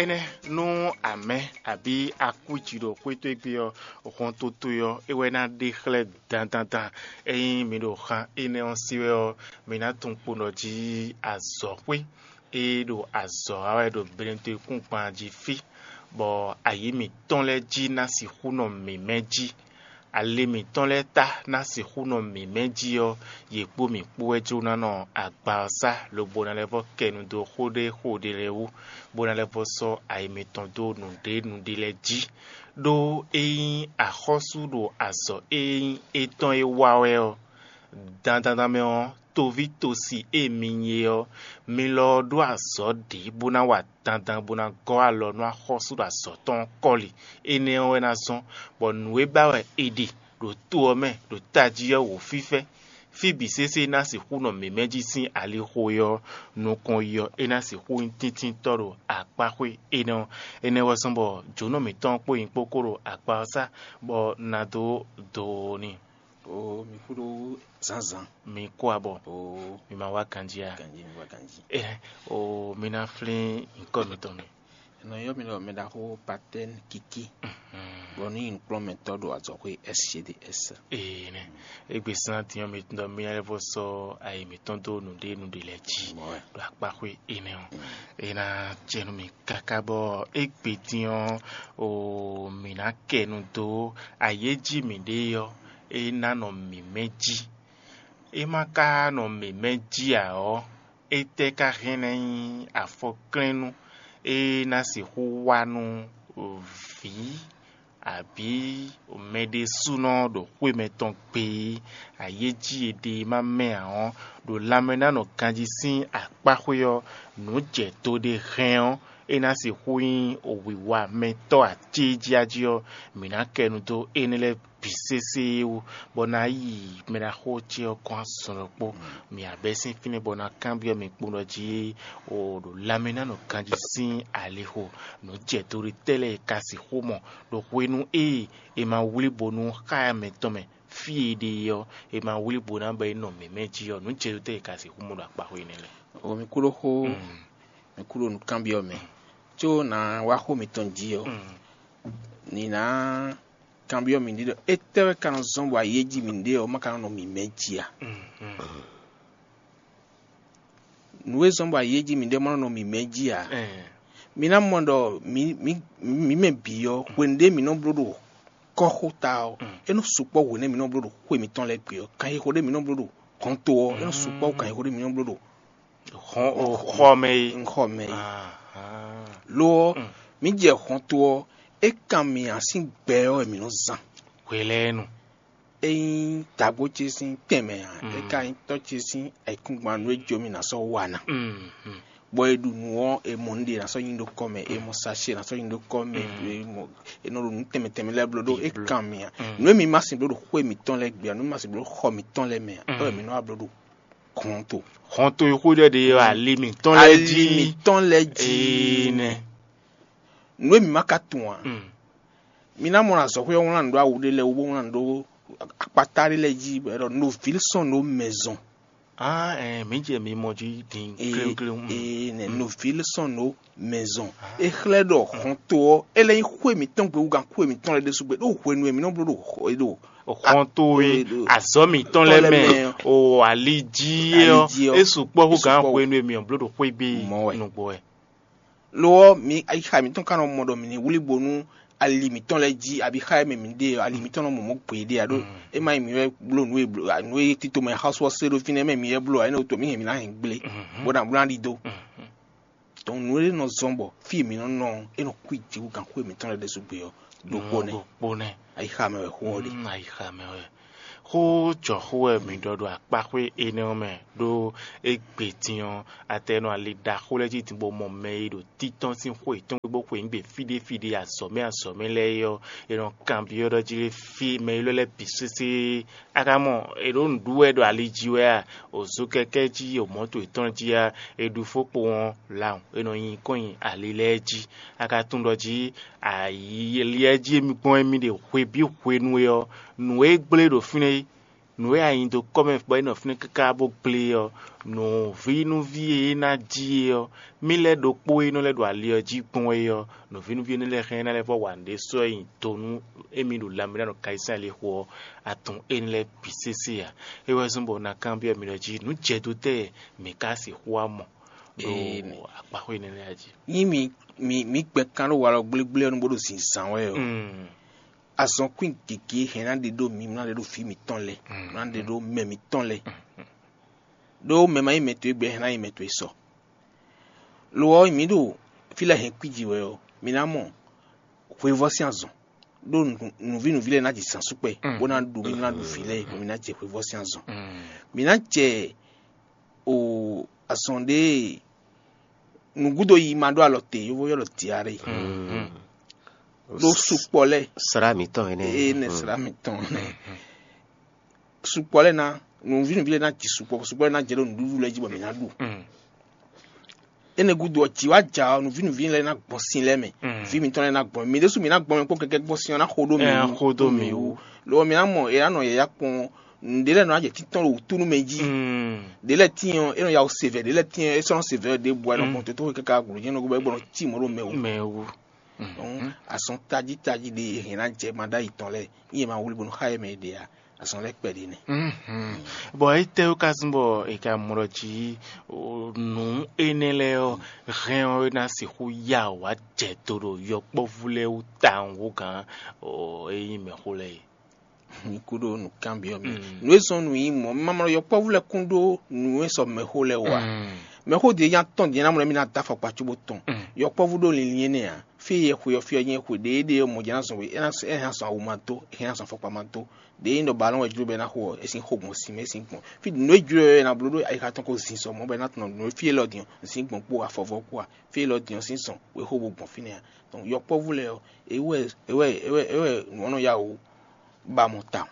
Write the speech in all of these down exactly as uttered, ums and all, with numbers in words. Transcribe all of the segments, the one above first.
Énɛ́ nú amɛ̌ abǐ akwíji ɖo xwé towe gbe ɔ́, hɔntoto ɔ́, é wɛ ná ɖe xlɛ́ dandandan. Ényí mi ɖo xan énɛ́ ɔ́ sí wɛ ɔ́, mi ná tunwun kpo ɖɔ jí azɔ̌xwé e ɖo azɔ̌ wa wɛ ɖo Benetwekúngban jí fí, bɔ ayǐ mǐtɔn lɛ́ɛ jí ná sixú nɔ mǐmɛ́ jí. Ali mǐtɔn lɛ́ɛ ta ná sixú nɔ mǐmɛ́ jí ɔ́, yě kpó mǐ kpó wɛ jló ná nɔ agba ɔ́ sá, lobo ná lɛ́ vɔ́ kɛ nu dó xó ɖé xo ɖé lɛ́ɛ wú, bó ná lɛ́ vɔ́ sɔ́ ayi mitɔn dó nǔɖé nǔɖé lɛ́ɛ jí. Ɖó ényí axɔ́sú ɖo azɔ̌ e nyí étɔn é wa wɛ ɔ́, dandandan mɛ ɔ́, toví tosi e mi nyí é ɔ́, mi lɔ ɔ́ ɖó azɔ̌ ɖě bó ná wa dandan bó ná gɔ́ alɔ nú axɔ́sú ɖo azɔ̌ tɔn ɔ́ kɔ́li. Énɛ́ ɔ́ wɛ ná zɔ́n bɔ nǔ e ba wɛ è ɖe ɖo to ɔ́ mɛ ɖo tají ɔ́ wǒ fífɛ́. Fí bǐ sésé ná sixú nɔ mǐmɛ́ jí sín alixo e ɔ́, nukɔn yi ɔ́, é ná sixú nyí tíntíntɔ́ ɖo akpáxwé énɛ́ ɔ́. Énɛ́ wɛ zɔ́n bɔ jǒnɔ mǐtɔn kpó nyí kpó kó ɖo akpa ɔ́ sá, bɔ un ná dó do n'i. Oo, mi kúɖó zǎnzǎn. Mi kú abɔ. Oo, mi ma wá ganjí a? Ganjí, mi wá ganjí. Ɛ, oo, mi ná flín nyǐkɔ mitɔn mi. È nɔ ylɔ́ mi ɖɔ mɛɖaxó Patɛ́n Kiki, bɔ ní nyí nǔkplɔ́nmɛtɔ́ ɖo azɔ̌xwé S G D S. Ee nɛ, égbé sán din ɔ́, mi ɖɔ mi lɛ́ vɔ sɔ́ ayi mǐtɔn dó nǔɖé nǔɖé lɛ́ɛ jí. Mɔ̌ wɛ. Ɖo akpáxwé énɛ́ ɔ́, é ná jɛ nú mi káká bɔ égbé din ɔ́, o mǐ ná kɛ nu dó ayéjí mǐɖée ɔ́, é ná nɔ mǐmɛ́ jí. É má ka nɔ mǐmɛ́ jí ǎ ɔ́, étɛ́ ka hɛn ná nyí afɔklɛ́nnú e ná sixú wa nú vǐ abǐ mɛɖésúnɔ ɖo xwé mɛtɔn gbe e ayéjí e ɖe e má mɛ ǎ ɔ́, ɖo lanmɛ ná nɔ ganjí sín akpáxwé ɔ́, nǔ jɛ do ɖé hɛn ɔ́, é ná sixú nyí wǐwamɛtɔ́ acéjíají ɔ́, mǐ ná kɛ nu dó énɛ́ lɛ́ɛ bǐ sésé wú, bɔ ná yi mɛɖaxó ce ɔ́ kɔn azɔn ɖokpó. Mǐ abɛ́ sín fínɛ́ bɔ ná kanbyɔ́ mi kpowun ɖɔ jí o ɖo lanmɛ ná nɔ ganjí sín alixo nǔ jɛ do ɖé tɛ́ lɛ́ɛ e ka sixú mɔ ɖo hwenu e è ma wlí bo nú xá mɛtɔn mɛ fí e ɖe é ɔ́, è ma wlí bo ná bɔ é nɔ mǐmɛ́ jí ɔ́, nǔ jɛ do tɛ́ e ka sixú mɔ ɖo akpáxwé énɛ́ lɛ́ɛ. O mi kú ɖó xó, mi kú ɖó nǔkanbyɔ́ mɛ, có ná wá xó mitɔn jí ɔ́, ní ná kanbyɔ́ mì ɖi ɖɔ étɛ́ wɛ ka nɔ zɔ́n bɔ ayéjí mǐɖée ɔ́ ma ka nɔ nɔ mǐmɛ́ jí a? Nǔ e zɔ́n bɔ ayéjí mǐɖée ma nɔ nɔ mǐmɛ́ jí a? Mi ná mɔ ɖɔ mǐ mǐ mǐ mɛ bǐ ɔ́, hwenu ɖé mǐ nɔ bló ɖo kɔ́xota ɔ́, é nɔ sukpɔ́ hwenu e mǐ nɔ bló ɖo xwe mǐtɔn lɛ́ɛ gbe ɔ́, kanxixo ɖé mǐ nɔ bló ɖo hɔn to ɔ́, é nɔ sukpɔ́ kanxixo ɖé mǐ nɔ bló ɖo Xɔ o xɔ mɛ yi. Xɔ mɛ yi. Ahán. Lo ɔ́, mǐ jɛ hɔn to ɔ́, é kan mì ǎ sín gbɛ ɔ́ wɛ mǐ nɔ zán. Hwelɛ́nu. É nyí dagbó ce sín tɛnmɛ ǎ, é ka nyí tɔ́ ce sín ayǐkúngban nú é jó mì ná sɔ́ wa ná. Bɔ è ɖu nǔ ɔ́, è mɔ nǔɖé ná sɔ́ nyi ɖó kɔ mɛ, è mɔ sachet ná sɔ́ nyi ɖó kɔ mɛ, è mɔ è nɔ ɖo nǔ tɛnmɛ tɛnmɛ lɛ́ɛ bló ɖó é kan mì ǎ. Nǔ e mi ma sin bló ɖo xwé mǐtɔn lɛ́ɛ gbe ǎ, nǔ e mi ma sin bló ɖo xɔ mǐtɔn lɛ́ɛ mɛ ǎ, é wɛ mǐ nɔ wá bló ɖo hɔn to. Hɔn to e xwé ɖɔ ɖe ɔ́, ali mǐtɔn lɛ́ɛ jí. Ali mǐtɔn lɛ́ɛ jí. Ee nɛ. Nǔ e mǐ ma ka tunwun ǎ. Mi ná mɔ azɔ̌xwé ɔ́ wlán nǔ ɖó awu ɖé lɛ́ɛ wú, bó wlán nǔ ɖó akpata ɖé lɛ́ɛ jí, bɔ è ɖɔ novílsɔ́n ɖó mɛzɔn. Ah, ɛɛ, mǐ jɛ mi mɔ jí din kléwúkléwú. Ee nɛ, novílsɔ́n ɖó mɛzɔn. É xlɛ́ ɖɔ hɔn to ɔ́, é lɛ́ nyí xwé mǐtɔn gbe wú gan xwé mǐtɔn lɛ́ɛ ɖésú gbe, ɖó hwenu e mǐ nɔ bló ɖo xɔ- ɖo Xɔn towe, azɔ̌ mǐtɔn lɛ́ɛ mɛ, o ali jí é ɔ́, é sukpɔ́ hú gǎn hwenu e mǐ ɔ́ bló ɖo xwé gbe nǔgbó wɛ. Lo ɔ́, mi ayixa mǐtɔn ka nɔ mɔ ɖɔ mǐ ní wlí bo nú ali mǐtɔn lɛ́ɛ jí, abǐ xá e mɛ mǐ ɖe ɔ́, ali mǐtɔn nɔ mɔ mɔ̌ gbeɖé ǎ ɖó é má nyí mǐ wɛ bló nǔ e bló nǔ e tito mɛ xasu ɔ́ se ɖó fínɛ́ mɛ mǐ wɛ bló ǎ, énɛ́ wútu mǐ hɛn mǐ ná hɛn gblé, bó ná bló ná ɖidó. Donc nǔ e nɔ zɔ́n bɔ fí e mǐ nɔ nɔ ɔ́, é nɔ kú jǐ wú gan xwé mǐtɔn lɛ́ɛ ɖésú gbe ɔ́, ɖokpó nɛ́. Ɖokpó nɛ́. Ayixa mɛ wɛ xó ɔ́ ɖe. Mm, ayixa mɛ wɛ. Xó jɔxó wɛ mǐ ɖɔ ɖo akpáxwé énɛ́ ɔ́ mɛ, ɖó égbé din ɔ́, atɛ nɔ ali ɖaxó lɛ́ɛ jí din bó mɔ mɛ e ɖo títɔ́n sín xó yětɔn gbe bó xweyǐgbe fí ɖé fí ɖé azɔ̌ mɛ azɔ̌ mɛ lɛ́ɛ é ɔ́, è nɔ kanbyɔ́ ɖɔ jí fí mɛ élɔ́ lɛ́ɛ bǐ sésé. A ka mɔ è ɖǒ nǔ ɖu wɛ ɖo ali jí wɛ a? Òzo kɛkɛ jí, o mɔ̌to yětɔn jí a? È ɖu fó kpowun ɔ́, lawun è nɔ nyi kɔn nyi ali lɛ́ɛ jí. A ka tunwun ɖɔ jí ali lɛ́ɛ jí émí gbɔn émí ɖe hwe bǐ hwenu e ɔ́, nǔ e gblé ɖo fínɛ́ é, Nǔ e a nyi dó kɔ́ mɛ bɔ é nɔ fínɛ́ káká bó gblé ɔ́, nǔvínuví e é ná jí é ɔ́, mì lɛ́ ɖokpó e nɔ lɛ́ ɖo ali ɔ́ jí gbɔn é ɔ́, nǔvínuví énɛ́ lɛ́ɛ hɛn é ná lɛ́ vɔ́ wa nǔɖé sɔ́ nyi do nú émí ɖo lanmɛ ɖo kayísán lixo ɔ́, atɔn énɛ́ lɛ́ɛ bǐ sésé ǎ. É wɛ zɔ́n bɔ un ná kanbyɔ́ mi ɖɔ jí nǔ jɛ dó tɛ́ mǐ ka sixú wá mɔ ɖo akpaxwé énɛ́ lɛ́ɛ jí? Nyí mi mi mi gbɛn kan ɖo walɔ gblégblé ɔ́ nu bó ɖo zǐnzán wɛ ɔ́, azɔn kwín gěgé hɛn ná ɖe ɖó mi, ná ɖe ɖo vǐ mǐtɔn lɛ́ɛ, ná ɖe ɖó mɛ mǐtɔn lɛ́ɛ. Ɖó mɛ ma nyí mɛ towe gbɛ hɛn ná nyí mɛ towe sɔ. Lo ɔ́, mǐ ɖo fí lɛ́ɛ hɛn kwíji wɛ ɔ́, mi ná mɔ hweyivɔ́ sín azɔn. Ɖó nǔví nǔví lɛ́ɛ ná ji zǎnsúkpɛ, bó ná ɖu mí ná ɖu vǐ lɛ́ɛ, bɔ mǐ ná jɛ hweyivɔ́ sín azɔn. Mǐ ná jɛ o azɔn ɖé nǔgúdo yi ma ɖó alɔ te, yovó ylɔ́ ɖɔ diaré. Ɖó sukpɔ lɛ́ɛ Srá mǐtɔn énɛ́. Ee, nɛ srá mǐtɔn nɛ. Sukpɔ lɛ́ɛ ná nǔví nǔví lɛ́ɛ ná ji sukpɔ, sukpɔ lɛ́ɛ ná jɛ ɖó nǔɖuɖu lɛ́ɛ jí bɔ mǐ ná ɖu. Énɛ́ gúdo ɔ́, jǐ wá ja ɔ́, nǔví nǔví lɛ́ɛ ná gbɔn sin lɛ́ɛ mɛ. Vǐ mǐtɔn lɛ́ɛ ná gbɔn mɛ. Mǐ ɖésú mǐ ná gbɔn mɛ kpó kɛkɛ gbɔn sin ɔ́ ná xo ɖó mǐ wú. Xo ɖó mǐ wú. Lo ɔ́, mǐ ná mɔ è ná nɔ yɛ̌yá kpɔn nǔɖé lɛ́ɛ nɔ ná jɛ títɔn ɖo wǔtú nú mɛ jí. Ɖě lɛ́ɛ tíin ɔ́, é nɔ ya wǔ se vɛ̌, ɖě lɛ́ɛ tíin ɔ́, é sɔ́ nɔ se vɛ̌ ɖěbǔ wɛ nɔ gbɔn tótóxwe káká gǔdo jɛ́n nɔ gúdo bɔ é gbɔ nɔ cí mɔ̌ ɖo mɛ wú. Mɛ wú. Donc, azɔn tají tají ɖé e hɛn ná jɛ maɖáyi tɔn lɛ́ɛ, nyí è ma wlí bónú xá yɛ mɛ e ɖe ǎ. Azɔn lɛ́ɛ kpɛɖé nɛ́. Bɔ étɛ́ wú ka zɔ́n bɔ è ka mlɔ jí nǔ énɛ́ lɛ́ɛ ɔ́, hɛn ɔ́ é ná sixú ya wǎ jɛ do ɖo yɔkpɔ́vú lɛ́ɛ wú tawun hú gǎn é nyí mɛxó lɛ́ɛ é? Mi kú ɖó nǔkanbyɔ́ mɛ. Nǔ e zɔ́n nǔ nyí mɔ̌, ma mlɔ yɔkpɔ́vú lɛ́ɛ kún ɖó nǔ e sɔ mɛxó lɛ́ɛ wú ǎ. Mɛxó ɖě nya tɔn din ná mlɔ mì ná dó afɔkpa cóbó tɔn. Yɔkpɔ́vú ɖó linlin énɛ́ ǎ. Fí e yɛ xwe ɔ́, fí ɔ́ nyí xwe ɖě é ɖe ɔ́, mɔ̌ jɛ́n ná zɔn we, é ná é hɛn azɔn awu ma dó, é hɛn azɔn afɔkpa ma dó. Ɖě é nyí ɖɔ balɔ́n wɛ jló bɔ é ná xo ɔ́, é sín xo gbɔn sin mɛ, é sín gbɔn. Fí nǔ e jló ɔ́, é ná bló ɖó ayixa tɔn ko zin sɔ mɔ̌ bɔ é ná tunɔ nǔ e fí élɔ́ din ɔ́, zǐn gbɔn kpó afɔvɔ́ kpó a, fí élɔ́ din ɔ́ sín zɔn wěxo bó gbɔn fínɛ́ ǎ. Donc, yɔkpɔ́vú lɛ́ɛ ɔ́, é wɛ é wɛ é wɛ é wɛ nǔ ɔ́ nɔ yá wǔ ba mɔ tawun.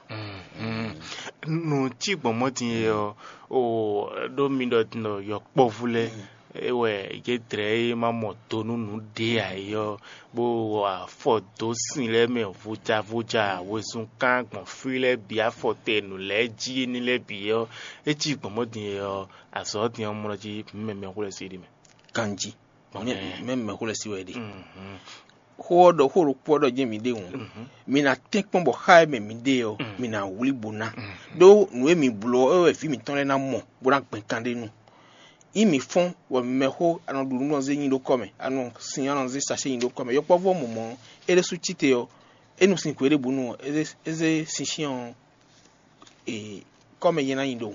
Nǔ cí gbɔn mɔ̌ din é ɔ́, o ɖó mi ɖɔ din ɖɔ yɔkpɔ́vú lɛ́ɛ é wɛ yě dlɛ̌ é ma mɔ do nú nǔ ɖě ǎ é ɔ́, bó wa afɔ dó sin lɛ́ɛ mɛ vojavodja wezun kán gbɔn fí lɛ́ɛ bǐ afɔ te nǔ lɛ́ɛ jí éní lɛ́ɛ bǐ ɔ́, é cí gbɔn mɔ̌ din é ɔ́, azɔ̌ din ɔ́ mlɔ jí mɛ mɛxó lɛ́ɛ sí ɖi mɛ. Ganjí. Mɛ mɛxó lɛ́ɛ sí wɛ é ɖe. Xó ɔ́ ɖɔ xó ɖokpó ɔ́ ɖɔ jɛ́n mi ɖe hǔn, mi ná tɛ́nkpɔ́n bɔ xá e mɛ mi ɖe ɔ́, mi ná wlí bó ná. Ɖó nǔ e mi bló ɔ́, é wɛ vǐ mǐtɔn lɛ́ɛ ná mɔ, bó ná gbɛn kan ɖé nu. Yí mǐ fɔ́n, bɔ mɛxó a nɔ ɖu nǔ nɔ zé nyi ɖó kɔ́ mɛ, a nɔ sin a nɔ zé sacé nyi ɖó kɔ́ mɛ. Yɔkpɔ́vú ɔ́ mɔ mɔ̌, é ɖésú cí te ɔ́, é nu sin hwe ɖěbǔ nu ɔ́, é zé é zé sinsin ɔ́ e kɔ́mɛ jɛ́n ná nyi ɖo.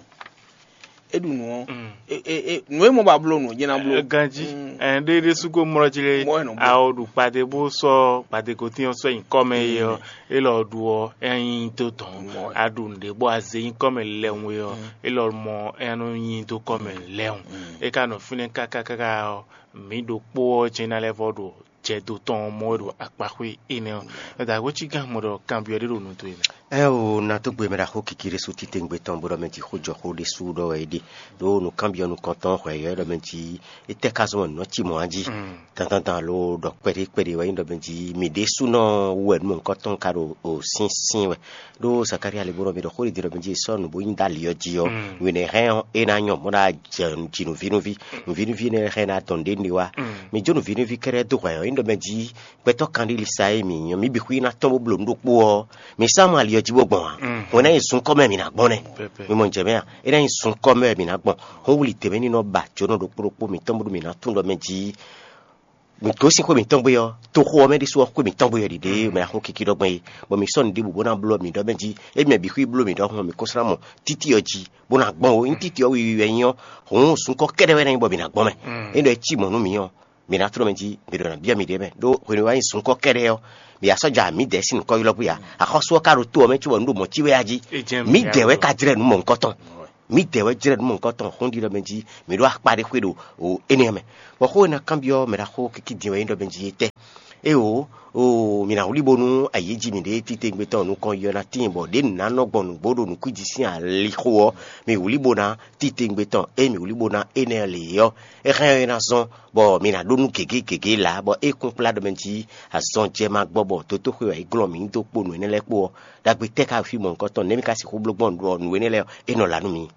É ɖu nǔ ɔ́, e- e- e- nǔ e mɔ ba bló nǔ jɛ́n ná bló. Ganjí, ɛn ɖé ɖésú ko mlɔ jí lé. Mɔ ɛ nɔ bló. Awo ɖu kpade bó sɔ́ kpade ko tín ɔ́ sɔ́ nyi kɔ́mɛ é ɔ́, é lɔ ɖu ɔ́, é nyi dó tɔn. Mɔ ɛ. A ɖu nǔɖé bó a zé nyi kɔ́mɛ lɛ́hun é ɔ́, é lɔ mɔ é nɔ nyi dó kɔ́mɛ lɛ́hun. É ka nɔ fínɛ́ káká káká ɔ́, mǐ ɖokpó ɔ́ jɛ́n ná lɛ́ vɔ ɖo jɛ do tɔn ɔ́ mɔ wɛ ɖo akpaxwé énɛ́ ɔ́. Dǎgbó cí gán mɔ ɖɔ kanbyɔ́ ɖé ɖo nu towe mɛ. Ɛ o, na tó gbe mɛ ɖaxó kiki ɖé sú titewungbe tɔn bó ɖɔ mɛ jí xó jɔ xó ɖé sú ɖɔ wɛ é ɖe. Ɖó nǔkanbyɔ́ nukɔntɔn hwɛ yɔ ɖɔ mɛ jí étɛ́ ka zɔn nǔ ɔ́ cí mɔ̌ a jí. Dandandan lo ɖɔ kpɛɖé kpɛɖé wɛ nyí ɖɔ mɛ jí mǐ ɖésúnɔ wú wɛ nǔ mɔ̌hunkɔtɔn ka ɖo o sínsín wɛ. Ɖó Zakalía lɛ́ bó ɖɔ mɛ ɖɔ xó ɖě ɖɔ mɛ jí è sɔ́ nǔ bó nyi dó ali ɔ́ jí ɔ́, nǔ énɛ́ hɛn ɔ́, é ná nyɔ bó ná jɛ jǐnǔvínúví. Nǔvínúví énɛ́ hɛn ná dɔn ɖě nɖe wá. Mǐ jó nǔvínúví kɛ́ɖɛ́ dó hwɛ ɔ́, é ɖɔ mɛ jí gbɛtɔ́ kanɖílisa e mǐ nyɔ́ mǐ bǐ xwí ná tɔ́n bó bló nǔ ɖokpó ɔ́, mǐ sá mɔ ali ɔ́ jí bó gbɔn ǎ. Hwɛ̌n ná nyí zunkɔ́ mɛ mǐ ná gbɔn nɛ́. Mi mɔ jɛ mɛ a? É ná nyí zunkɔ́ mɛ wɛ mǐ ná gbɔn. Hɔn wuli dě mɛ ní nɔ ba jǒnɔ ɖokpó ɖokpó mǐtɔn bó ɖo mǐ ná tunwun ɖɔ mɛ jí mǐ gosín xwé mǐtɔn gbé ɔ́, toxo ɔ́ mɛ ɖésú ɔ́ xwé mǐtɔn gbé ɔ́ ɖiɖe mɛ axɔ́ kiki ɖɔ gbɔn é, bɔ mǐ sɔ́ nǔɖěbǔ bó ná bló mǐ ɖɔ mɛ jí, émi mɛ bǐ xwí bló mǐ ɖɔhun mǐ ko slán mɔ títí ɔ́ jí, bó ná gbɔn ó. Ényí títí ɔ́ wiwi wɛ nyí ɔ́, hǔn zunkɔ́ kɛ́ɖɛ́ wɛ ná nyí bɔ mǐ ná gbɔn mɛ. Ényí ɖɔ é cí mɔ̌ nú mǐ ɔ́, mǐ ná tló mɛ jí, mǐ ɖo ná byɔ́ mǐɖée mɛ, ɖó hwenu e wá nyí zunkɔ́ kɛ́ɖɛ́ ɔ́, mǐ wá sɔ́ ja mǐdɛɛ sín nǔkɔ́ ylɔ́ gbé ǎ. Axɔ́sú ɔ́ ka ɖo tó ɔ́ mɛ cóbɔ nǔ ɖo mɔ̌ cí wɛ a jí. Mǐdɛɛ wɛ ka jlɛ́ nǔ mɔ̌hunkɔtɔn. Mǐdɛɛ wɛ jlɛ́ nǔ mɔ̌hunkɔtɔn xó ɖiɖɔ mɛ jí, mǐ ɖó akpa ɖé xwé ɖo énɛ́ ɔ́ mɛ. Bɔ xó e ná kanbyɔ́ mɛ ɖaxó kikídin wɛ nyí ɖɔ mɛ jí étɛ́? Éwo, oo, mǐ ná wlí bónú ayǐ e jí mǐ ɖe titewungbe tɔn nukɔn yi ɔ́ ná tíin, bɔ ɖě nǔ ná nɔ gbɔn nǔgbó ɖo nǔkwíji sín alixo ɔ́, mǐ wlí bó ná titewungbe tɔn e mǐ wlí bó ná énɛ́ lě ɔ́, é hɛn ɔ́ é ná zɔ́n, bɔ mǐ ná ɖó nú gěgé gěgé lǎ, bɔ é kún kplá ɖɔ mɛ jí azɔn jɛ ma gbɔ, bɔ dotóxwé wɛ é glɔ́n mǐ dó kpo nǔ énɛ́ lɛ́ɛ kpó ɔ́, ɖagbe tɛ́ ka fí mɔ̌hunkɔtɔn nɛ̌ mǐ ka sixú bló gbɔn nǔ énɛ́ lɛ́ɛ ɔ́, é nɔ lá nú mǐ.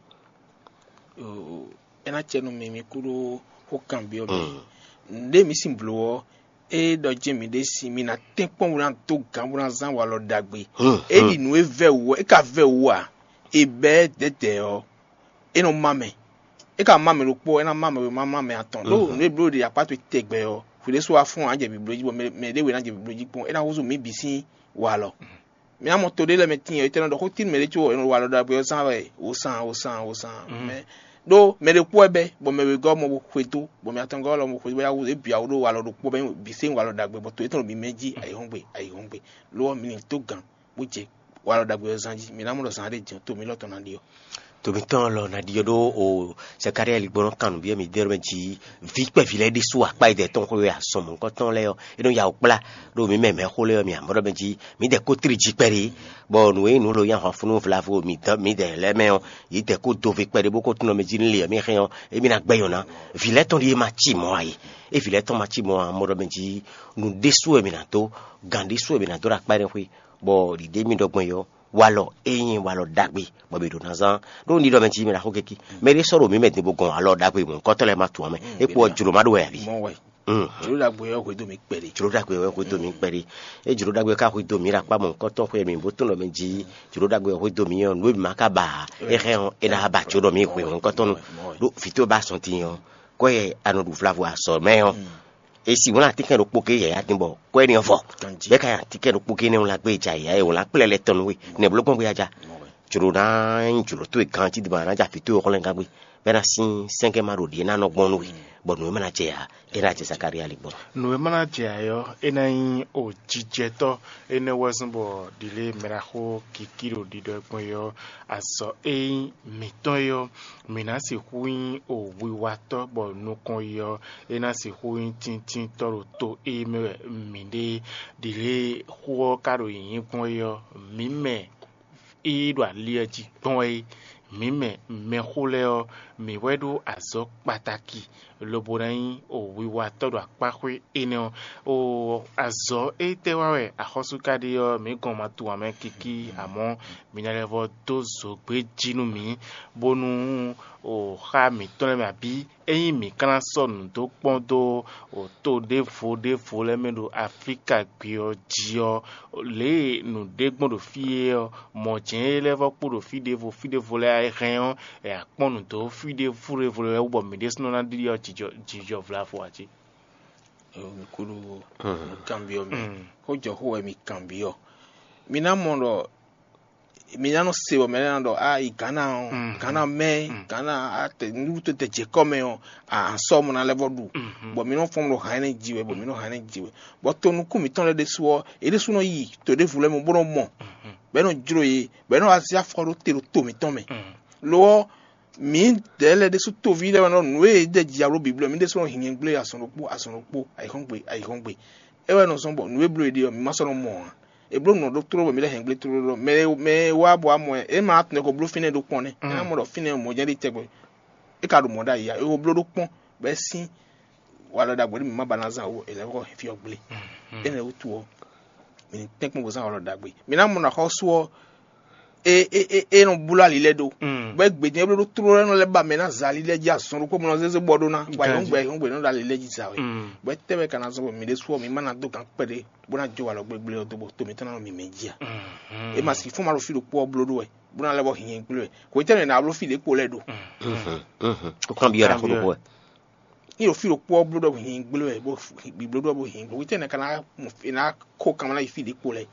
É ná cɛ nú mi mi kú ɖó xó kanbyɔ́ mɛ. Nǔɖé mi sín blǒ ɔ́, é ɖɔ jɛ́n miɖée sin mi ná tɛ́nkpɔ́n bó ná dó gǎn bó ná zán walɔ ɖagbe. É ɖi nǔ e vɛ́ wǔ ɔ́, é ka vɛ́ wǔ ǎ. È bɛ́ dɛ̌dɛ̌ ɔ́, é nɔ má mɛ. É ka má mɛ ɖokpó ɔ́, é ná má mɛ wěma má mɛ atɔn. Ɖó nǔ e bló ɖe akpá towe tɛgbɛ ɔ́, hwi ɖésú wá fɔ́n ǎ jɛ bibló jí, bɔ mɛ ɖé we ná jɛ bibló jí kpɔ́n. É ná húzú mǐ bǐ sín walɔ. Mi ná mɔ to ɖé lɛ́ɛ mɛ tíin ɔ́, étɛ́ nɔ ɖɔ xó tín mɛ ɖé có è nɔ wa alɔ ɖagbe ɔ́ zán wɛ wǒsán wǒsán wǒsán mɛ ɖó mɛ ɖé kpó wɛ bɛ́, bɔ mɛ wěgɔ́ mɔ bó xwedó, bɔ mɛ atɔngɔ́ lɔ mɔ xwedó, bó yá wú é bǐ awu ɖó walɔ ɖokpó bɔ é bǐ sɛ́n walɔ ɖagbe, bɔ to étɛ́ nɔ bǐ mɛ jí ayǐhɔ́ngbe ayǐhɔ́ngbe. Lo ɔ́, mi ní dó gǎn bó jɛ walɔ ɖagbe ɔ́ zán jí, mi ná mɔ ɖɔ zán ɖé din ɔ́, to mǐ lɔ tɔn ná ɖi ɔ́. Tomitɔn lɔ ná ɖiɖɔ ɖó o Zakária ligbɔnɔ kan nǔbyɔ́ mi dɛ́ mɛ jí, vǐ kpɛví lɛ́ɛ ɖésú akpá yi dɛ tɔn xwé azɔn mɔ̌hunkɔtɔn lɛ́ɛ ɔ́, é nɔ ya wǔ kplá ɖo mǐ mɛ mɛ̌xó lɛ́ɛ ɔ́, mi amɔ̌ ɖɔ mɛ jí mǐ dɛ kó tlí jí kpɛɖé, bɔ nǔ e nǔ lo nyi ahwanfúnú vlavo mǐ dɛ lɛ́ɛ mɛ ɔ́, yě dɛ kó do ve kpɛɖé bó kó tunɔ mɛ jí nú lě ɔ́ mì hɛn ɔ́, émí ná gbɛ́ nyɔ̌ná. Vǐ lɛ́ɛ tɔn ɖíe ma cí mɔ̌ ǎ é. É vǐ lɛ́ɛ tɔn ma cí mɔ̌ ǎ, amɔ̌ ɖɔ mɛ jí nǔ ɖésú wɛ mǐ ná dó, gǎn ɖésú wɛ mǐ ná dó ɖo akpá énɛ́ xwé, bɔ ɖǐɖé mì ɖɔ gbɔn é ɔ́, walɔ e nyí walɔ ɖagbe bɔ mǐ ɖo ná zán. Ɖó un ɖiɖɔ mɛ jí mɛ ɖaxó kɛ́kí, mɛ ɖé sɔ́ ɖo mǐ mɛ din bó gɔn alɔ ɖagbe mɔ̌hunkɔtɔn lɛ́ɛ ma tunwun mɛ. É kpo ɔ́, jlǒ ma ɖó wɛ abǐ? Mɔ wɛ. Jlǒ ɖagbe ɔ́ hwedó mì kpɛɖé. Jlǒ ɖagbe ɔ́ hwedó mì kpɛɖé. É jlǒ ɖagbe ɔ́ ka hwedó mǐ ɖo akpá mɔ̌hunkɔtɔn xwé mǐ bó tunwun ɖɔ mɛ jí jlǒ ɖagbe ɔ́ hwedó mǐ ɔ́, nǔ e mǐ ma ka ba ǎ, é hɛn ɔ́, é ná ba jǒ ɖɔ mǐ hwe mɔ̌hunkɔtɔn nú we. Ɖó vǐ towe ba sɔn din ɔ́, kɔ́ yɛ a nɔ ɖu vlavo azɔ̌ mɛ ɔ́, è sixú ná tínkɛn ɖokpó ké yǎyá dín bɔ kɔ́ énɛ́ ɔ́ vɔ. Bɛ́ ka nyi atínkɛn ɖokpó ké nɛ́ wlán gbé ja yǎyá e wlán kplɛ́ lɛ́ɛ tɔn nú we. Nɛ̌ bló gbɔn gbé ya ja? Jlǒ ná nyí jlǒ towe ganjí din bɔ a nǎ ja vǐ towe xlɛ́ngán gbé, bɔ é ná sín sɛ́nkɛ́ ma ɖo ɖě ná nɔ gbɔn nú we, bɔ nǔ e ma ná jɛ ǎ, é ná jɛ Zakalía lí gbɔn. Nǔ e ma ná jɛ ayǐ ɔ́, é ná nyí o jijɛtɔ́ énɛ́ wɛ zɔ́n bɔ ɖǐlé mɛ ná xo kikí ɖo ɖiɖɔ gbɔn é ɔ́, azɔ̌ e nyí mǐtɔn é ɔ́, mǐ ná sixú nyí o wiwatɔ́ bɔ nukɔn yi ɔ́, é ná sixú nyí tíntínntɔ́ ɖo to e mɛ wɛ mǐ ɖe ɖi lě e xó ɔ́ ka ɖo nyǐnyí gbɔn é ɔ́, mǐ mɛ e ɖo ali ɔ́ jí gbɔn é. Mǐ mɛ mɛxó lɛ́ɛ ɔ́, mǐ wɛ ɖó azɔ̌ kpataki lobo ná nyí o wiwatɔ́ ɖo akpáxwé énɛ́ ɔ́. O azɔ̌ étɛ́ wa wɛ axɔ́sú ka ɖe ɔ́, mǐ gɔn ma tunwun amɛ kikí, amɔ̌ mǐ ná lɛ́ vɔ́ dó zǒgbé jí nú mǐ, bónú o xá mǐtɔn lɛ́ɛ mɛ abǐ ényí mǐ ka ná sɔ́ nǔ dó kpɔ́n dó to ɖěvo ɖěvo lɛ́ɛ mɛ ɖo Aflíka gbé ɔ́ jí ɔ́, lě e nǔ ɖe gbɔn ɖo fí é ɔ́, mɔ̌ jɛ́n é lɛ́ vɔ́ kpo ɖo fí ɖěvo fí ɖěvo lɛ́ɛ é hɛn ɔ́, è akpɔ́n nǔ dó fí ɖěvo ɖěvo lɛ́ɛ wú bɔ mǐ ɖésúnɔ ná ɖiɖi ɔ́ jijɔ vlavo ǎ jí. Kúɖú kanbyɔ́ mɛ, xó jɔ xó wɛ mi kanbyɔ́. Mi ná mɔ ɖɔ mi ná nɔ se bɔ mɛ lɛ́ɛ ná ɖɔ a yi Ghana ɔ́, Ghana mɛ, Ghana atɛ nuɖuɖu tó te jɛ kɔ mɛ ɔ́, a sɔ mɔ ná lɛ́ vɔ ɖu, bɔ mi nɔ fɔn ɖo hàn ɛnɛ ji wɛ, bɔ mi nɔ hàn ɛnɛ ji wɛ, bɔ to nukún mǐtɔn lɛ́ɛ ɖésú ɔ́, yě ɖésú nɔ yi to ɖěvo lɛ́ɛ mɛ bó nɔ mɔ, bɔ é nɔ jló yě, bɔ é nɔ wá zé afɔ ɖó te ɖo to mǐtɔn mɛ. Lo ɔ́, mǐdɛɛ lɛ́ɛ ɖésú toví lɛ́ɛ wɛ nɔ nǔ e yě ɖe ji alo bǐblɔ́ mǐ ɖésú nɔ hin nyɛgblé azɔn ɖokpó azɔn ɖokpó ayǐhɔ́ngbe ayǐhɔ́ngbe. É wɛ nɔ zɔ́n bɔ nǔ e bló è ɖe ɔ́, mǐ ma sɔ́ nɔ mɔ ǎ. È bló nǔ ɔ́ ɖó tlóló bɔ mǐ lɛ́ hɛn gblé tlóló ɖɔ mɛ e mɛ e wá bɔ wá mɔ ɛ, é ma tunwun ɛ ko bló fínɛ́ ɖó kpɔ́n nɛ́. É ná mɔ ɖɔ fínɛ́ mɔ̌ jɛ́n ɖi tɛgbɛ. É ka ɖo mɔ̌ ɖ'ayǐ ǎ, é ko bló ɖó kpɔ́n, bɔ é sín walɔ ɖagbe ɖé mǐ ma ba ná zán wú, è lɛ́ vɔ́ hɛn fí ɔ́ gblé. Énɛ́ wútu ɔ́, mǐ ní tɛ́nkpɔ́n bó zán walɔ ɖagbe. Mǐ ná mɔ nɔ axɔ́sú ɔ́, e e e e nɔ bló ali lɛ́ɛ ɖó. Bɔ é gbe din é bló ɖó tlóló lɛ́ɛ nɔ lɛ́ ba mɛ ná za ali lɛ́ɛ jí azɔn ɖokpó bó nɔ zézé bɔ ɖó ná, bɔ ayǐhɔ́ngbe ayǐhɔ́ngbe nɔ ɖo ali lɛ́ɛ jí za wɛ. Bɔ é tɛ́ wɛ ka ná zɔ́n bɔ mǐ ɖésú ɔ́, mǐ ma ná dó gǎn kpɛɖé bó ná jó walɔ gbégbé ɔ́ dó bɔ to mǐtɔn ná nɔ mǐmɛ́ jí ǎ. É ma sixú ma ɖo fí ɖokpó ɔ́ bló ɖó wɛ, bó ná lɛ́ bɔ hǐnyɛ gblé wɛ. Hwetɛ́nu è nǎ bló fí ɖě kpo lɛ́ɛ ɖo? Ó kán byɔ́ ɖaxó ɖokpó wɛ. Ní ɖo fí ɖokpó ɔ́ bló ɖɔ hǐnyɛ gblé wɛ, bó gbibló ɖɔ bó hǐnyɛ gblé. Hwetɛ́nu è ka ná mɔ è ná kó kanmɛ ná yi fí ɖě kpo lɛ́ɛ?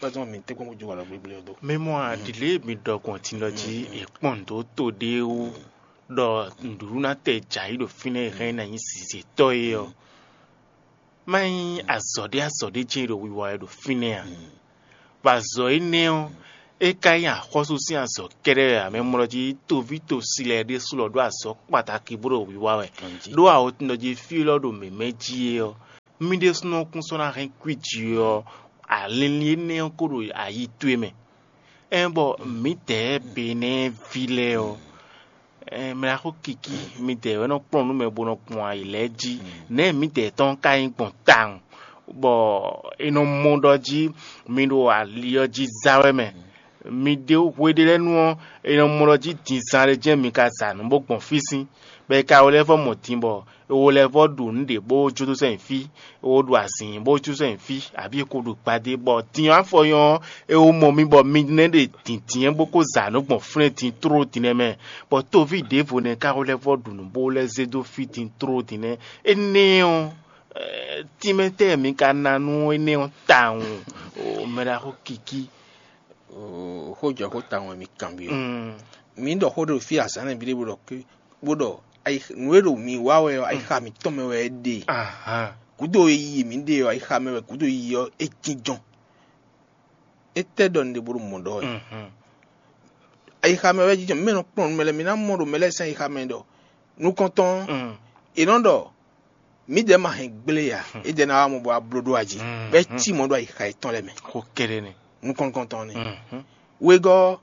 Pardon, mi tɛ kpɔn jó wala gbegble do. Mɛ mɔ aɖile mi ɖɔ gbɔn tinɔ jí e kpɔn dó to ɖé wú ɖɔ nǔɖuɖu ná tɛ jǎ yi ɖo fínɛ́ e hɛn ná nyi sizetɔ é ɔ́. Má nyí azɔ̌ ɖé azɔ̌ ɖé jɛ́n ɖo wiwa wɛ ɖo fínɛ́ a? Vɔ azɔ̌ énɛ́ ɔ́, é ka nyí axɔ́sú sín azɔ̌ kɛ́ɖɛ́ wɛ ǎ. Mɛ mlɔ jí toví tosi lɛ́ɛ ɖésú lɔ ɖó azɔ̌ kpataki bó ɖo wiwa wɛ. Ɖó awotun ɖɔ jí fí élɔ́ ɖo mǐmɛ́ jí é ɔ́, Mì ɖésúnɔ kún sɔ́ ná hɛn kwíji ɔ́, alinlin énɛ́ ɔ́ kó ɖo ayi towe mɛ. Ɛn bɔ mǐdɛɛ Benɛ́ɛví lɛ́ɛ ɔ́, ɛn mɛ ná xó kikí, mǐdɛɛ wɛ nɔ kplɔ́n nǔ mɛ bó nɔ gbɔn ayǐ lɛ́ɛ jí. Nɛ̌ mǐdɛɛ tɔn ka nyí gbɔn tawun, bɔ è nɔ mɔ ɖɔ jí mi ɖo ali ɔ́ jí zá wɛ mɛ? Mi ɖe hwe ɖé lɛ́ɛ nu ɔ́, è nɔ mɔ ɖɔ jí din zán ɖé jɛ́n mi ka za nǔ bó gbɔn fí sín, bɔ è ka wlɛ́ vɔ́ mɔ din bɔ è wo lɛ́ vɔ́ ɖu nǔ ɖě bó jó dó sɛ́n nyi fí, è wo ɖu azǐn bó jó sɛ́n nyi fí, abǐ è ko ɖu gbadé, bɔ din ɔ́ afɔ nyɔ́ ɔ́, è wo mɔ mi bɔ mi nɛ́ ɖe dǐndín bó kó za nǔ gbɔn flɛ́n din tlóló din nɛ́ mɛ, bɔ toví ɖěvo nɛ́ ka wlɛ́ vɔ́ ɖu nǔ bó lɛ́ zé dó fí din tlóló din nɛ́. Énɛ́ ɔ́, tínmɛ tɛ́ mi ka ná nú énɛ́ ɔ́ tawun? O mɛ ɖaxó Kiki. Xójɔxó tawun wɛ mi kanbyɔ́. Mi ɖɔ xó ɖo fí azǎn nɛ́ bíɖé bó ɖɔ ké bó ɖɔ nǔ e ɖo mi wa wɛ ɔ́, ayixa mitɔn mɛ wɛ é ɖe. Gǔdo e yi mi ɖe ɔ́, ayixa mɛ wɛ gǔdo yi ɔ́ é jínjɔ́n. Étɛ́ ɖɔ un ɖe bó ɖo mɔ̌ ɖɔ wɛ? Ayixa mɛ wɛ jínjɔ́n. Mi mɛ nɔ kplɔ́n nǔ mɛ lɛ́ɛ, mi ná mɔ ɖo mɛ lɛ́ɛ sín ayixa mɛ ɖɔ nukɔntɔn ɔ́, è nɔ ɖɔ mǐdɛɛ ma hɛn gblé ǎ, édɛɛ ná wá mɔ bɔ wá bló ɖó aji, bɔ é cí mɔ̌ ɖo ayixa yětɔn lɛ́ɛ mɛ. Xó kɛ́ɖɛ́ nɛ́. Nukɔntɔn nɛ́. Wegɔ́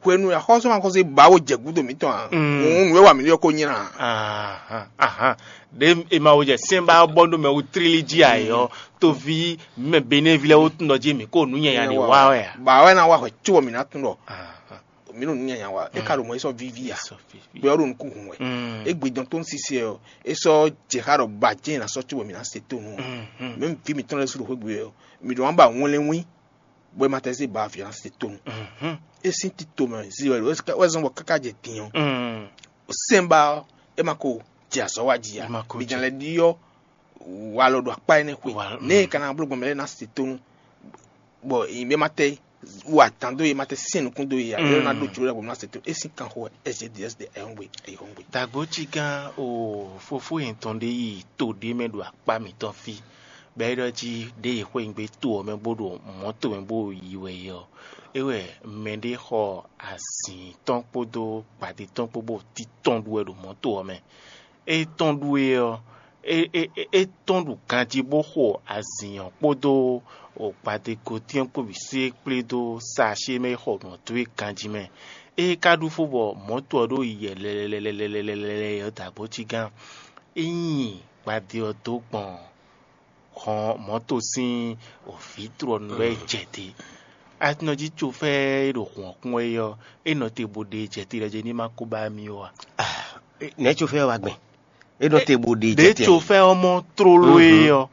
hwenu e axɔ́súmaxɔ́sú e ba wo jɛ gǔdo mǐtɔn ǎ, hǔn nǔ e wa mǐ ɖe ɔ́ ko nylá ǎ. Ahan, ahan. Ɖe e ma wo jɛ sɛ́n ba bɔ ɖo mɛ wu tlílí jí ayǐ ɔ́, toví mɛ Benɛ́ví lɛ́ɛ wo tún ɖɔ jí mǐ ko nǔ nyanya ɖě wa wɛ ǎ. Ba wɛ ná wa hwɛ có bɔ mǐ ná tún ɖɔ mǐ ɖo nǔ nyanya wa. É ka ɖo mɔ é sɔ́ víví ǎ. Gbɛ ɔ́ ɖo nukún hun wɛ. Égbé dɔn tó ń sise ɔ́, é sɔ́ jɛ xá ɖɔ ba jɛ́n è nǎ sɔ́ có bɔ mǐ ná se tónú ɔ́. Mɛ̌ vǐ mǐtɔn lɛ́ɛ sú ɖo xwé gbe ɔ́, mǐ ɖo wǎn ba wɛnlɛ́nwín bɔ é ma tɛ zé ba vǐ ɔ́ ná se tónú. É sín tito mɛ zi wɛ wɛ zɔn bɔ káká jɛ din ɔ́, sɛ́nba ɔ́ é ma ko jɛ azɔ̌ wa jí ǎ. Bǐ ná lɛ́ ɖyɔ́ walɔ ɖo akpá énɛ́ xwe. Nɛ̌ è ka ná bló gbɔn mɛ lɛ́ɛ ná se tónú bɔ è ma tɛ wa dǎn dó yě, ma tɛ syɛ́n nukún dó yě ǎ? É ná ɖó jlǒ ɖagbe ná se tónú. É sín kanxo wɛ S J D S de ayɔ́ngbe ayɔ́ngbe. Dǎgbó cí gán o fofó yětɔn ɖé yi to ɖé mɛ ɖo akpá mǐtɔn fí. Bɔ é ɖɔ jí ɖěe xweyǐgbe to ɔ́ mɛ bó ɖo mɔ̌to mɛ bó yi wɛ é ɔ́, é wɛ mɛɖé xɔ azǐn tɔn kpódó gbadé tɔn kpó bó títɔn ɖu wɛ ɖo mɔ̌to ɔ́ mɛ. É tɔn ɖu é ɔ́, é tɔn ɖu ganjí bó xo azǐn ɔ́ kpódó gbadégotín ɔ́ kpó bǐ sé kplé dó saṣé mɛ é xɔ nǔ ɔ́ dó é ganjí mɛ. É ka ɖu fó bɔ mɔ̌to ɔ́ ɖo yi yɛlɛlɛlɛlɛlɛlɛ ɔ́ dǎgbó cí gán. É nyi gbadé ɔ́ dó gbɔn hɔn mɔ̌to sín vǐtrɔ́nu wɛ jɛ te. Atinɔjí cofɛ́ e ɖo hɔn ɔ́ kún wɛ é ɔ́, é nɔ te bó ɖe jɛ te ɖɔ jɛ ní ma kó ba mì ó a? Nɛ̌ cofɛ́ ɔ́ wá gbɛn? É nɔ te bó ɖe jɛ te. Ɖě cofɛ́ ɔ́ mɔ tlóló é ɔ́,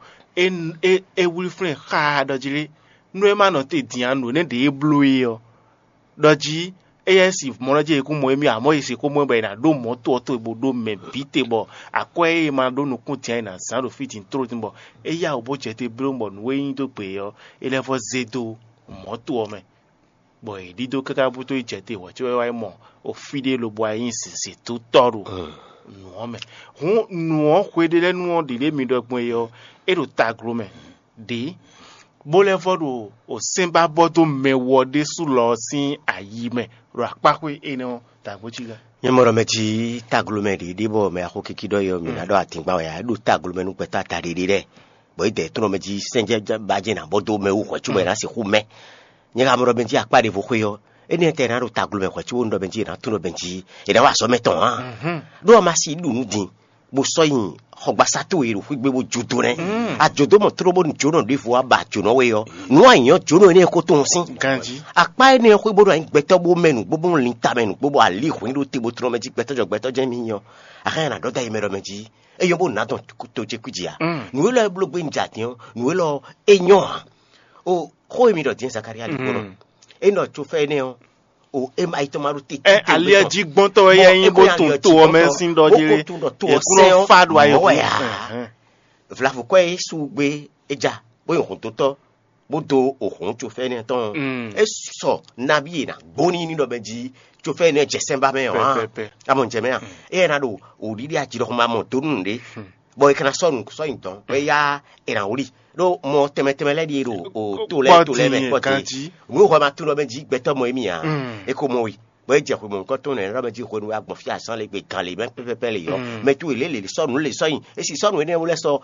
é wlí flɛ́n xá ɖɔ jí lé, nú é ma nɔ te din ǎ, nǔ énɛ́ ɖě é bló é ɔ́, ɖɔ jí éyɛ́ si mɔ̌ lɔ jí è kún mɔ émí ǎ, mɔ̌ è sixú mɔ ɛ bɔ è nǎ ɖó mɔ̌ to ɔ́ towe bó ɖó mɛ bǐ te bɔ akwɛ́ e è ma ɖó nukún din ǎ è nǎ zán ɖo fí din tlóló din bɔ é yá wǔ bó jɛ te bló bɔ nǔ e nyí dó gbe ɔ́, é lɛ́ vɔ́ zé dó mɔ̌ to ɔ́ mɛ. Bɔ è ɖidó káká bútó yi jɛ te hwɛ̌ có wá yi mɔ fí ɖé lobo wá nyí zǐnzǐntɔ́tɔ́ ɖo nǔ ɔ́ mɛ. Hǔn nǔ ɔ́ hweɖélɛ́nu ɔ́ ɖě ɖě mi ɖɔ gbɔn é ɔ́, é ɖo taglo mɛ ɖě, bó lɛ́ vɔ́ ɖo sɛ́nbábɔ́ dó mɛ wɔ ɖésú lɔ ɔ́ sín ayi mɛ ɖo akpáxwé énɛ́ ɔ́ dǎgbójí gá. Nyɛ mɔ ɖɔ mɛ jí taglo mɛ ɖě ɖé bɔ mɛ axó kiki ɖɔ yɔ mǐ ná ɖɔ atǐngban wɛ ǎ, é ɖo taglo mɛ nú gbɛtɔ́ ata ɖě ɖé lɛ́ɛ, bɔ é dɛ tlɔ́n mɛ jí sɛ́njɛ́ bá jɛ nǎ bɔ dó mɛ wú hwɛ̌ cóbɔ è nǎ sixú mɛ. Nyɛ ka mɔ ɖɔ mɛ jí akpá ɖěvo xwé ɔ́, énɛ́ tɛ è nǎ ɖo taglo mɛ hwɛ̌ cóbɔ un ɖɔ mɛ jí è nǎ tunwun ɖɔ mɛ jí è nǎ wa azɔ̌ mɛ tɔn ǎ. Ɖó a ma si ɖu nǔ din bó sɔ́ nyi xɔgbasá towe e ɖo xwígbe bó jó dó nɛ́. A jó dó mɔ tló bónú jǒnɔ ɖěvo wá ba jǒnɔ we ɔ́, nǔ a nyǐ ɔ́ jǒnɔ énɛ́ ko tunwun sín. Akpá énɛ́ ɔ́ xwé bó ɖo anyi gbɛtɔ́ bó mɛ nǔgbó bó lin tamɛ nǔgbó bó alí hwǐn ɖó te bó tlɔ́n mɛ jí gbɛtɔ́ jɔ gbɛtɔ́ jɛ́n mì nyí ɔ́, axan nyi nǎ ɖɔ dó ayi mɛ ɖɔ mɛ jí. É nyɔ́ bó nǎ dɔn to ce kwí jí ǎ. Nǔ élɔ́ e bló gbé un jɛ adǐn ɔ́, nǔ élɔ́ é nyɔ́ ǎ. O xó e mi ɖɔ din Zakaria ɖi gbɔn nɔ. É nɔ tso fɛ énɛ́ ɔ́, o é ma yi tɔn ma ɖo tete. Ɛ aliɛ jí gbɔntɔ wɛ yɛ nyi bó tun to ɔmɛ sín ɖɔ jí lé. Ekú nɔ fa ɖo ayɔ kú. Vlavo kɔ e su gbé é ja bó yi hɔn dotɔ bó do ohɔn tso fɛ énɛ́ tɔn. É sɔ nabi e na gbóni ní ɖɔ mɛ jí tso fɛ énɛ́ jɛ sɛnba mɛ ɔ́. Amɔ jɛ mɛ a? É yɛ na ɖo òɖiɖi ajilɔxɔma mɔ donu ɖé. Bɔ è ka ná sɔ́ nǔ sɔ́ nyi dɔn bɔ é yá è nǎ wlí. Ɖó mɔ tɛnmɛ tɛnmɛ lɛ́ɛ ɖíe ɖo o to lɛ́ɛ to lɛ́ɛ mɛ kpɔ́ te. Nǔ e hwɛ ma tunɔ mɛ jí gbɛtɔ́ mɔ émí ǎ. É ko mɔ we. Bɔ é jɛ xwe mɔ̌hunkɔtɔn nɛ́ ɖɔ mɛ jí hwenu e a gbɔn fí azán le gbe gan le mɛ pɛpɛpɛ le yɔ. Mɛ towe lě lě sɔ́ nǔ le sɔ́ nyi. E si sɔ́ nǔ énɛ́ lɛ́ɛ sɔ́